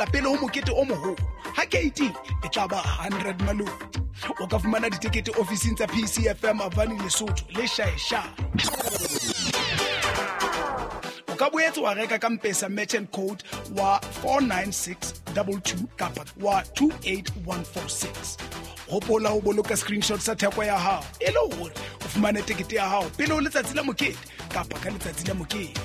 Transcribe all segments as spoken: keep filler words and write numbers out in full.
Pele ho mokete o moholo ha K T e tla ba hundred maloti. O ka fumana ditekete ofising tsa P C F M Avani Lesotho le Shaesha. O ka boetse wa reka ka Mpesa merchant code wa four nine six two two kapa wa two eight one four six. Hopola ho boloka screenshot sa theko ya hao e le hore o fumane tekete ya hao pele ho letsatsi la mokete kapa ka letsatsi la mokete.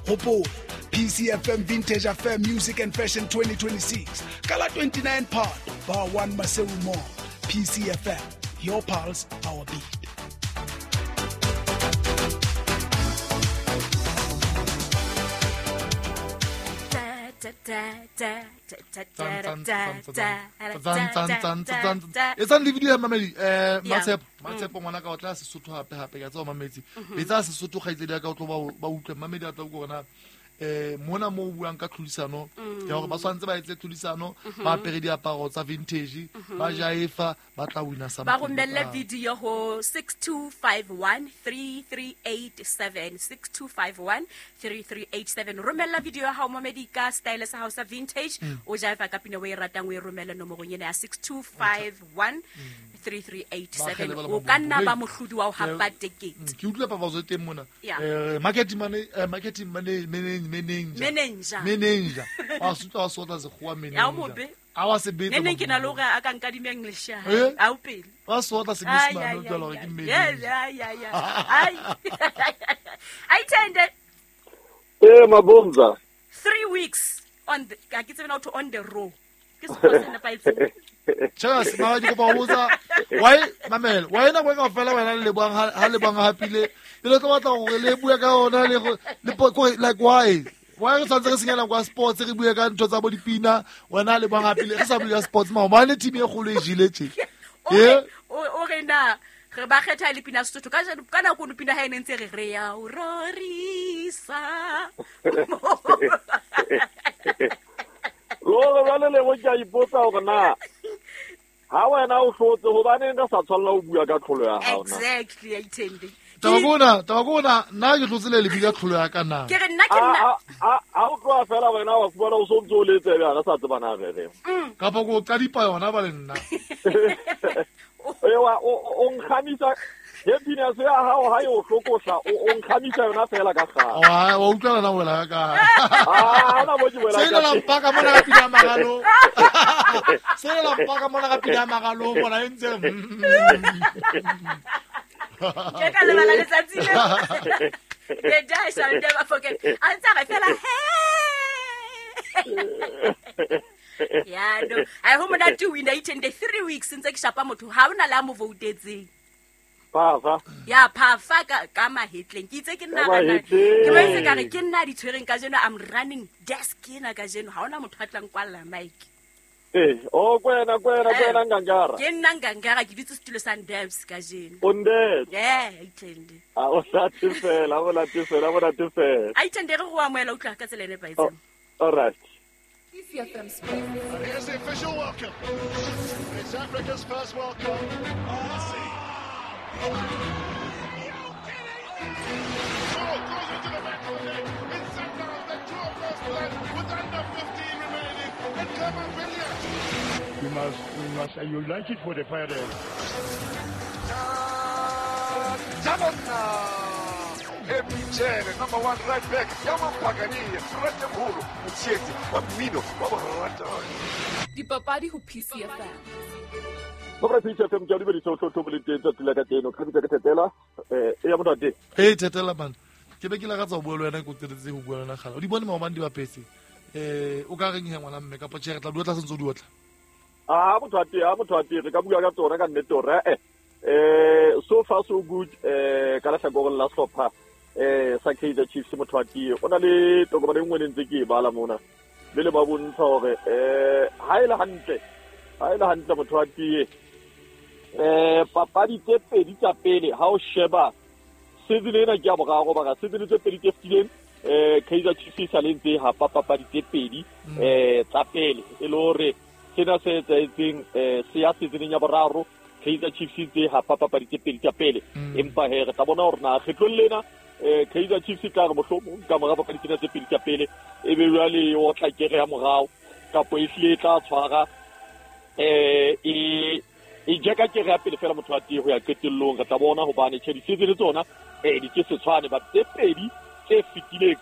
Hopola P C F M Vintage Affair Music and Fashion twenty twenty-six. Kala twenty-nine Part, Bar one Maseru Mall. P C F M, your pulse, our beat. Etsang le video ya mamedi eh Matshepo Matshepo ngwana ka o tla Sesotho hape hape ka tswa mamedi betsa Sesotho kgaitsedi ya ka o tlo ba ba utlwe mamedi a tla go rona eh mona mo buang ka tlhodisano ya hore ba tshwantse ba etse tlhodisano ba apere diaparo tsa vintage ba jaefa ba tla wina sa ba romelle video ho six two five one three three eight seven six two five one three three eight seven. Romella video ya hao mamedi ka style sa hao sa vintage o jaefa ka pina o e ratang o e romelle nomorong ena ya six two five one three three eight seven. O ka nna ba mohlodi wa ho hapa tekete. Ke utlwa papazo teng mona eh marketing mane marketing mane manager manager manager wa sutla wa sotla sekgowa manager a wa sebetsa nene ke na le hore a ka nkadimeng lesha a o pele wa sotla senyesemane o tla hore ke manager ya ya ya ai ai tende eh mabonza three weeks on the ka ke tsena to on the row ke sekgowa se nepahetseng. Cheers ma di kopa botsa why mamela why na kweka fela wena le lebang ha lebang hapile le tlo batla gore le bua ka ona le le like why why re tshwantse re senyana kwa sports re bua ka ntho tsa bo dipina wena le bang hapile re sa bua sports ma mane team e kgolo e jile tje eh o re na re ba kgetha le pina Sesotho ka ka nako no pina ha ene ntse re re ya o rorisa lo ba le le go ja ipotsa hore na ha wena o hlotse hobane nka sa tshwanela ho bua ka tlholo ya hao na. Exactly aitende Tabakona tabakona nna ke hlotse le lebile tlholo ya ka na ke re nna ke nna a a o tloa fela wena wa fumana o sontse o letse be ga sa tsebana re re kapa go qadipa yona ba le nna ewa o nkgamisa happiness ya hao ha yo hlokosha o nkgamisa yona fela ka kgale wa wa utlwa na wela ka ah na bo ke wela se la mpaka mona ka pina magalo se la mpaka mona ka pina magalo mona e ntse ke ka lebala letsatsi le the day I shall never forget a ntse re fela he ya no I ho monate win eight and three weeks ntse ke shapa motho ha ona la mo voutetseng Phafa ya phafa ka ka mahetleng ke itse ke nna ka ke ba itse ka re ke nna di tshwereng ka jeno I'm running desk ena ka jeno ha ona motho a tlang kwalla mic eh o kwena kwena kwena ngangara ke nna ngangara ke ditse setulo sa Ndebs ka jeno o Ndebs yeah itende a o late fela o late fela o late fela a itende re go amoela utlwa ka tsela e nepahetseng. All right. Here's the official welcome. It's Africa's first World Cup. Oh, goes into the back of the net. It's Sundowns that draw first blood with under fifteen remaining. And Clement Villiers. We must, we must unite it for the pirates. Epitshele number one right back Yamampakani Frate Mholo Motsheti wa mmino wa boratani Dipapadi ho P C F M Mabra P C F M ke a dumedisa ho tlotlo le teng tsatsi la kajeno ka bitsa ke Thetela eh ya motho ate hey Thetela man ke be ke la ka tsa ho bua le wena ke o tsetse ho bua le wena kgala o di bone maobane di bapetse eh o ka reng he ngwana mme kapa tjhe re tla di otla sentse o di otla ah motho ate ah motho ate re ka bua ka tsona ka nnete hore eh eh so far so good eh ka lehlakoreng la sehlopha eh sa Kaizer Chiefs motho ate o na le tokomane e nngwe ne ntse ke e bala mona le le ba bontsha hore eh ha e le hantle ha e le hantle motho ate eh papadi tse pedi tsa pele ha o sheba season ena ke ya boraro ba season tse pedi tse fetileng eh Kaizer Chiefs e sa le ntse ha papadi tse pedi eh tsa pele e le hore sena se etsahetseng eh se ya season ya boraro Kaizer Chiefs ntse ha papadi tse pedi tsa pele empa he re tla bona hore na kgetlong lena eh Kaizer Chiefs e tla re mohlomong ka mora papadi tsena tse pedi tsa pele e be jwale o tla kere ya morao kapo e hlile e tla tshwara eh e e jeka ke re pele fela motho wa tee ho ya qetellong re tla bona hobane tjhe di-season tsona eh di ke se tshwane but tse pedi tse fetileng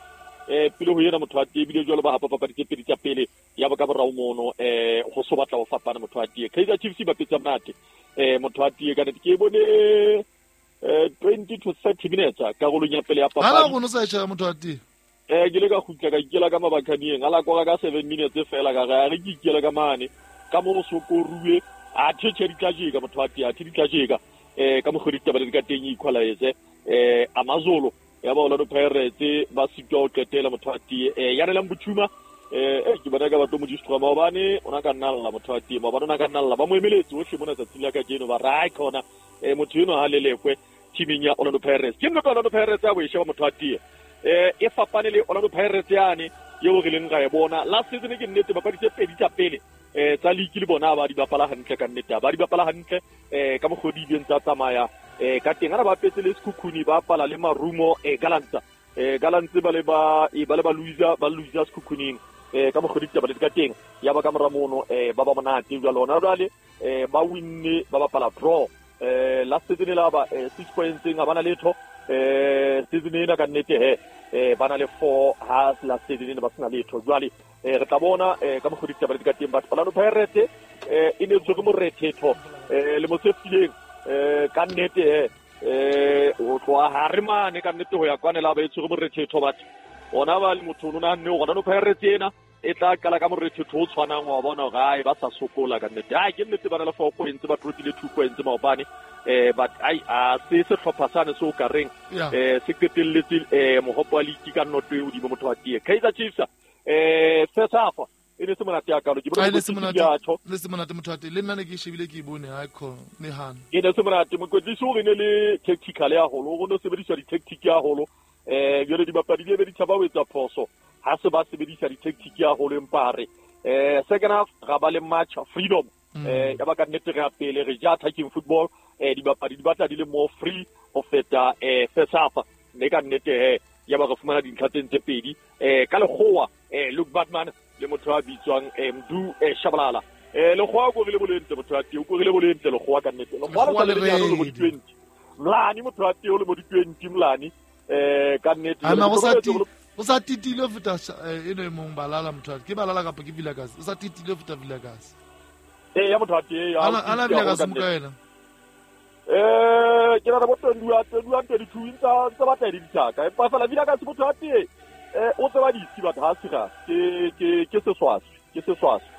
eh pele ho yena motho wa tee ebile jwalo ba hapa papadi tse pedi tsa pele ya ba ka borao mono eh ho so batla ho fapana motho wa tee. Kaizer Chiefs ba petsa monate eh motho wa tee ka nnete ke bone eh twenty to thirty minutes karolong ya pele ya papadi. Hala go no sa e motho wa tee eh ke le ka kgutla ka ikela ka mabakhaneng ala kora ka seven minutes fela ka re re ke ikela ka mane ka mo sokoruwe a thethe di tla jeka motho wa tee a di tla jeka eh ka mogodi taba le ka teng equalize eh Amazolo ya ba Orlando Pirates ba sitwa ho qetela motho wa tee eh ya relang Botshuma eh eh ke bona ka batho mo distra maobane ona ka nna lla motho wa tee maobane ona ka nna lla ba mo emeletse hohle mona tsatsing la kajeno ba ra khona eh motho eno ha lelekwe teaming ya Orlando Pirates ke nna Orlando Pirates ya bo e sheba motho wa tee eh e fapane le Orlando Pirates yane eo re leng ra e bona last season ke nnete bapadi tse pedi tsa pele eh tsa league le bona ba di bapala hantle ka nnete ba di bapala hantle eh ka mogodi di ntse tsamaya eh ka teng ana ba petse le Sekhukhune ba pala le Marumo eh Galantsa eh Galantse ba le ba e ba le ba Luisa ba Luisa Sekhukhuneng eh ka mogodi taba le ka teng ya ba ka moramono eh ba ba monate jwa lona jwale eh ba winne ba bapala draw eh last season la ba six points nga bana letho eh season ena ka nnete he eh bana le four ha last season ba sena letho jwale eh re tla bona eh ka mogodi taba le ka teng batho Orlando Pirates eh e ne tswe morethetho eh le motsefileng eh ka nnete he eh o tloa hare mane ka nnete ho ya kwane la ba e tswe morethetho batho ona ba le motho o nna nne Orlando Pirates ena e tla qala ka morethetho o tshwanang wa bona hore ai ba sa sokola ka nnete ai ke nnete bana le four points ba drop-ile two points maobane eh but ai a se sehlopha sane se o ka reng eh se qetelletse eh mohopo wa league ka noto e hodimo motho wa tee. Kaizer Chiefs eh first half e ne se monate ya kalo ke bona le se monate le se monate motho wa tee le nna ne ke shebile ke bone ha kho ne hana e ne se monate mokwetlisi o re ne le tactical ya holo go no sebedisa di-tactic ya holo eh jwale dibapadi di be di tshaba ho etsa phoso ha se ba sebedisa di-tactic ya holo empa re eh second half ra ba le match freedom eh ya ba ka nnete re ya pele re ja attacking football eh dibapadi di batla di le more free ho feta eh first half mme ka nnete he ya ba re fumana dintlha tse tse pedi eh ka lekgowa eh Luke Batman le motho a bitswang eh Mdu eh Shabalala eh lekgowa ko re le bolente motho wa teng ko re le bolente lekgowa ka nnete lekgowa le le mo di twenty mlani motho wa teng o le mo di twenty mlani eh ka nnete ana go sa ti o sa titile ho feta eno e mong balala motho wa ke balala kapa ke Vilakazi o sa titile ho feta Vilakazi eh ya motho wa teng ana ana Vilakazi mo ka yena eh ke na bo twenty-one twenty-one twenty-two ntsa tsa batla di ditaka empa fela Vilakazi motho wa teng eh o tseba ditsi batho ha sira ke ke ke seswaswi ke seswaswi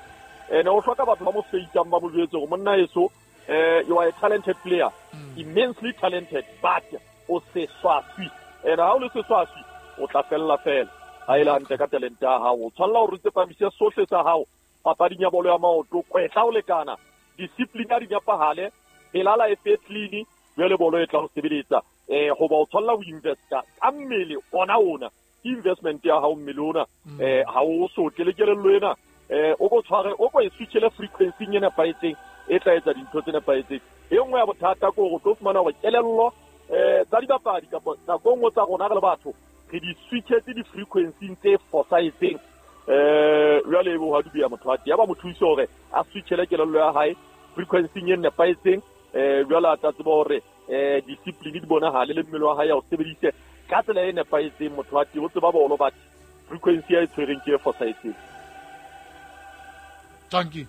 ene o hloka batho ba mo feitang ba mo jwetse hore monna eso eh you are a talented player immensely talented but o seswaswi ene ha o le seswaswi o tla fella fela ha ile hantle ka talent ya hao o tshwanela hore o tsepamise sohle sa hao papading ya bolo ya maoto kwetla o lekana discipline ya dinyapahale elala e fe clean jwale bolo e tla ho sebeletsa eh hoba o tshwanela ho investa ka mmele ona ona investment ya hao mmele ona eh ha o sotle le kelello ena eh o go tshware o go e switchele frequency e nepahetseng e tla etsa dintho tse nepahetseng e nngwe ya bothata ke hore o tlo fumana hore kelello eh tsa dibapadi kapa nako nngwe tsa rona re le batho re di switchetse di-frequency tse fosahetseng eh jwale bo ha dubia motho wa teng ya ba mo thuse hore a switchele kelello ya hae frequency e nepahetseng eh jwale a tla tseba hore eh discipline di bonahale le mmele wa hae a o sebedise ka tsela e nepahetseng motho wa teng o tseba bolo but frequency ya e tshwereng ke e fosahetseng. Thank you.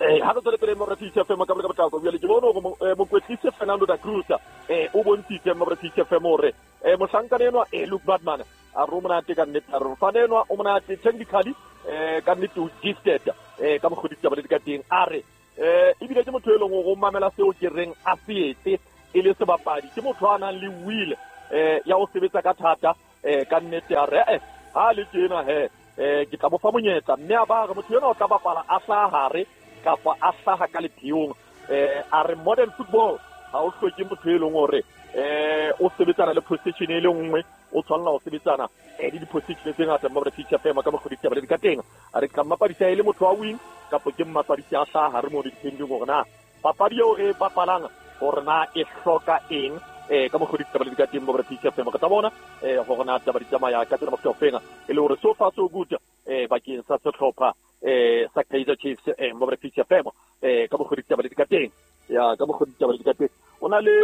Eh ha re tswele pele mo re F M ka ka botlako jwale ke bone hore mokwetlisi Fernando da Cruz eh o bontshitse mo re F M hore eh mohlankana enwa eh Luke Batman a re o monate ka nnete a re mofana enwa o monate technically eh ka nnete o gifted eh ka mogodi taba le ka teng a re eh ebile ke motho e leng hore o mamela seo ke reng a se etse e le sebapadi ke motho a nang le will eh ya ho sebetsa ka thata eh ka nnete a re eh ha le tjena he eh ke tla mo fa monyetla mme a ba re motho ena o tla bapala a hlaha hare kapa a hlaha ka lepheong eh a re modern football ha o hloke motho e leng hore eh o sebetsana le position e le nngwe o tshwanela ho sebetsana eh le di-position tse ngata mo re feature fema ka mokgwa ditaba le ka teng a re ka mmapadisa e le motho wa wing kapa ke mmapadisi a hlaha hare mo depending hore na papadi eo re bapalang hore na e hloka eng eh ka mokgwa ditaba le ka teng mo re feature fema ka tla bona eh hore na taba di tsamaya ka tsela mokgwa fenga e le hore so far so good eh bakeng sa sehlopha eh sa Kaizer Chiefs eh mo re P C F M eh ka mokgwa ditaba di ka teng ya ka mokgwa ditaba di ka teng o na le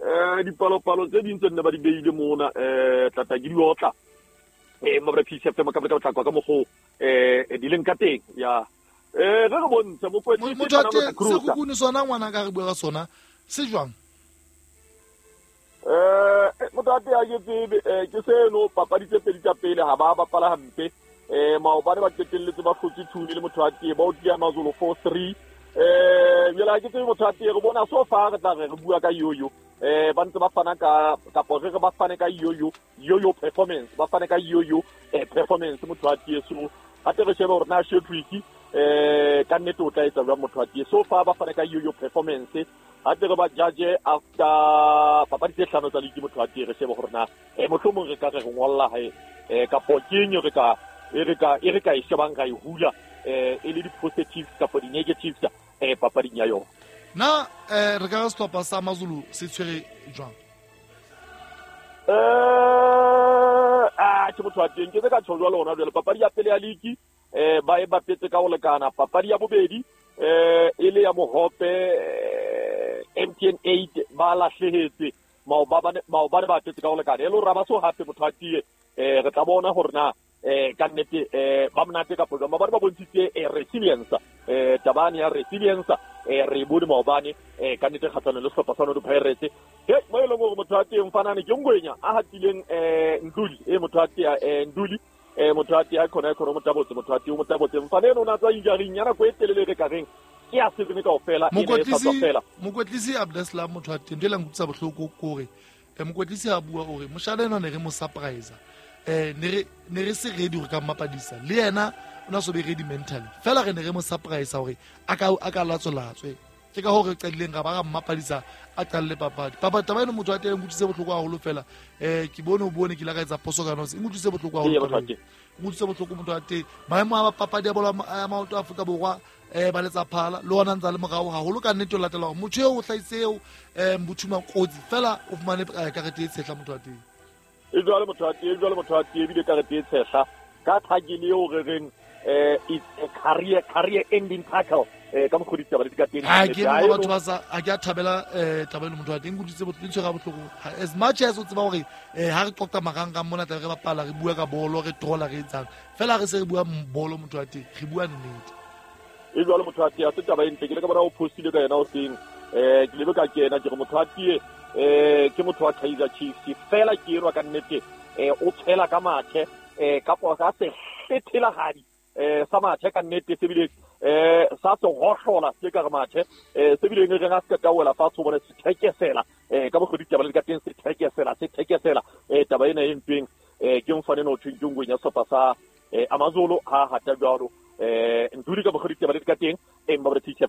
eh dipalopalo tse ding tse nne ba di beile mona eh tata ke di otla eh mo re P C F M ka ka botlakwa ka mokgwa eh di leng ka teng ya eh re re bontshe mokwetlisi Motho wa teng Sekhukhune sona ngwana ka re bua ka sona se jwang? Eh motho wa teng ha ke tsebe eh ke seno papadi tse pedi tsa pele ha ba bapala hampe eh maobane ba qetelletse ba hlotse two le motho wa teng ba o tia Mazulu four three eh jwale ha ke tsebe motho wa teng re bona so far re tla re re bua ka yoyo eh ba ntse ba fana ka kapo re re ba fane ka yoyo yoyo performance ba fane ka yoyo eh performance motho wa teng so hape re shebe hore na Shadrack eh ka nnete o tla etsa jwang motho wa teng so far ba fane ka yoyo performance hape re ba judge after papadi tse hlano tsa league motho wa teng re shebe hore na eh mohlomong re ka re re ngolla hae eh kapo keng re ka e re ka e re ka e shebang ra e hula eh e le di-positives kapo di-negatives eh papading ya yona. Na eh re ka re sehlopha sa Mazulu se tshwere jwang? Eh ah ke motho wa teng ke se ka tjho jwalo hona jwale papadi ya pele ya league eh ba e bapetse ka ho lekana papadi ya bobedi eh e le ya mohope eh, M T N eight ba lahlehetse maobane maobane ba bapetse ka ho lekana e le hore ha ba so hape motho wa teng eh re tla bona hore na eh ka nnete eh ba monate kapo jwang maobane ba bontshitse eh, resilience eh tabane ya resilience eh re bone maobane eh ka nnete kgatlhanong le sehlopha sa Orlando Pirates he mo e leng hore motho wa teng fanane ke Ngwenya a hatileng eh Nduli e motho wa teng eh Nduli eh motho wa teng a khona khona motabotse motho wa teng motabotse mfane eno o na tswa injury ya nako e telele re ka reng ke ya season kaofela e ne e sa tswa fela. Mokwetlisi Abdeslam motho wa teng ntho e la nkutlwisa bohloko ke hore eh mokwetlisi a bua hore moshana enwa ne re mo surprise eh ne re ne re se ready hore ka mmapadisa le yena o na so be ready mentally fela re ne re mo surprise hore a ka a ka latsolatswe ke ka hore re qadileng ra ba ra mmapadisa a qalle papadi papa taba eno motho wa teng nkutlwise bohloko haholo fela eh ke bone o bone ke la ka etsa poso ka nose nkutlwise bohloko haholo nkutlwise bohloko motho wa teng maemo a papadi ya bolo ya maoto a Afrika Borwa eh ba letsa phala le ona ntsa le morao haholo ka nnete o latela hore motho eo o hlahise eo eh Mbuthuma kotsi fela o fumane karete e tshehla motho wa teng e jwale motho wa teng jwale motho wa teng ebile karete e tshehla ka thakile eo re reng eh it's a career career ending tackle eh ka mokgwa ditaba di ka teng ha ke mo batho ba sa a ke a thabela eh taba eno motho wa teng nkutlwise bohloko tshwara bohloko as much as o tseba hore eh ha re qoqa marangrang mona tla re bapala re bua ka bolo re trola re etsang fela re se re bua bolo motho wa teng re bua nnete e jwale motho wa teng a se taba e ntle ke le ka bona o postile ka yena o seng eh ke lebe ka kena ke re motho wa teng eh ke motho wa Kaizer Chiefs fela ke erwa ka nnete eh o tshela ka mathe eh kapo ka se hlethela eh sa mathe ka nnete se bile eh sa se hohlola se ka re mathe eh se bile re ga se ka wela fatshe o bone se thekesela eh ka bogodi taba le ka teng se thekesela se thekesela eh taba ena e mpeng eh ke mfane no thweng ke Ngwenya sehlopha sa eh Amazulu ha hata jwalo eh Nduli ka bogodi taba le ka teng e mba re teacher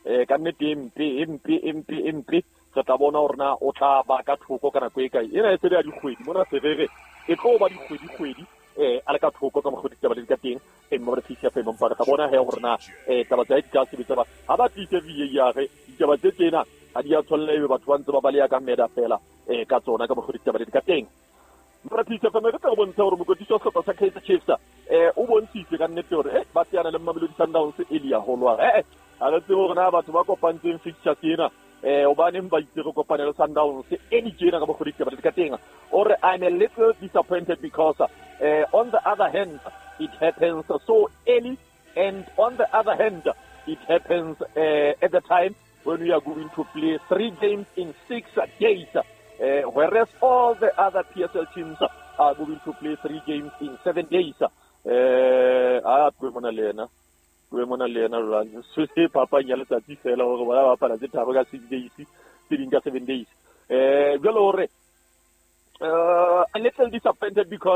eh ka nnete mpe mpe mpe mpe re tla bona hore na o tla ba ka thoko ka nako e kae ena e se le ya dikgwedi mona serere e tlo ba dikgwedi kgwedi eh a le ka thoko ka mokgwa ditaba di ka teng e mma re teacher fe mpa re tla bona he hore na eh taba tsa di ka sebetsa ba ha ba tlise V A R ditaba tse tsena ha di a tshwanela ebe batho ba ntse ba baleya ka meda fela eh ka tsona ka mokgwa ditaba di ka teng mara teacher fe re tla bontsha hore mokwetlisi wa sehlopha sa Kaizer Chiefs eh o bontshitse ka nnete hore eh ba teana le Mamelodi Sundowns e le ya holwa eh ha re tsebe hore na batho ba kopantseng fixture tsena eh hobaneng ba itse re kopane le Sundowns e di tjena ka mokgwa ditaba di ka teng or I'm a little disappointed because uh, on the other hand it happens so early and on the other hand it happens uh, at the time when we are going to play three games in six days uh, whereas all the other P S L teams are going to play three games in seven days eh a twe mona le yena twe mona le yena jwale se se papang ya letsatsi fela hore bona ba bapala tse tharo ka six days tse ding ka seven days eh jwale hore uh, a little disappointed because